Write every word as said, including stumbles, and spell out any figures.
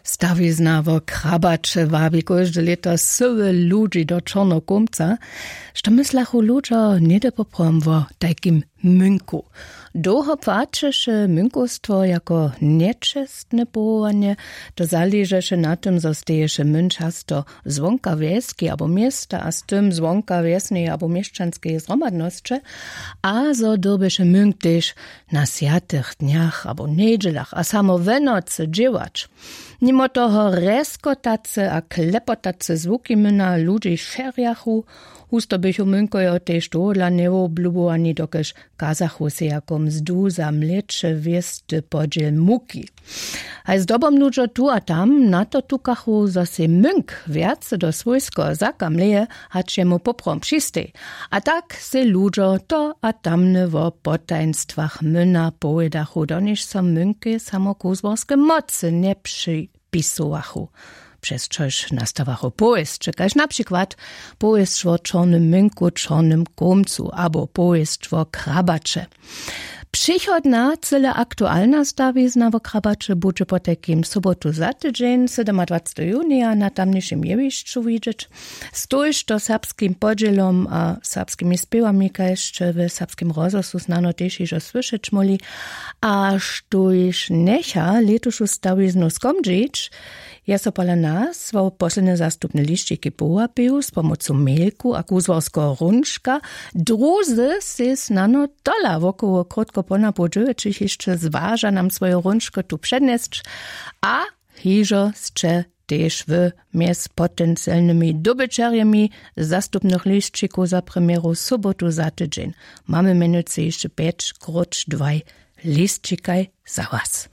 Stawizna wo krabaće wabi kóžde lěto syły ludźi do čorneho kómca. Što myslachu ludźo něhdy poprawom wo tajkim mynku? Dołho płaćeše mynkowstwo jako nječestne powołanje. To zaležeše na tym zo steješe myn často zwonka wjeski abo města a z tym zwonka wjesneje abo měšćanskeje zhromadnosće, a zo dyrbeše myn tež na swjatych dnjach abo njedźelach a samo we nocy dźěłać. Nimo toho reskotace a klepotace zwuki myna ludźi šerjachu. Husto běchu mynkojo tež tohodla njewoblubołani dokelž kazachu sej jako mzdu za mlěće wěsty podźěl muki. Haj zdobom ludźo tu a tam na to tukachu zo sej mynk wjace do swójskeho zaka mleje, hač jemu poprawom přistej. A tak sej ludźo to a tamne wo potajnstwach myna powědachu doniž so mynkej samo kuzłarske mocy njepřipisowachu, přez čož nastawachu powěsće kaž na přikład powěsć wo čornym mynku čornym kómcu abo powěsć wo krabaće. Přichodna cyle aktualna stawizna wo krabaće budźe potajkim sobotu za tydźeń sydomadwacteho junija na tamnišim jewišću widźeć. Stójšto serbskim podźělom a serbskimi spěwami kaž sće w serbskim rozhłosu snano tež hižo słyšeć móhli, a štójš njecha lětušu stawiznu skomdźić, je so pola nas wo poslednje zastupne lisćiki powapił z pomocu mailku a kuzłarskeho runčka. Druzy sej snano tola wokoło krótko ponapoł dźewjećich hišće zwaža nam swoju runčku tu přednjesć. A hižo sće tež wy mjez potencielnymi dobyćerjemi zastupnych lisćikow za premjeru sobotu za tydźeń. Mamy mjenujcy hišće pjeć króć dwaj lisćikaj za was.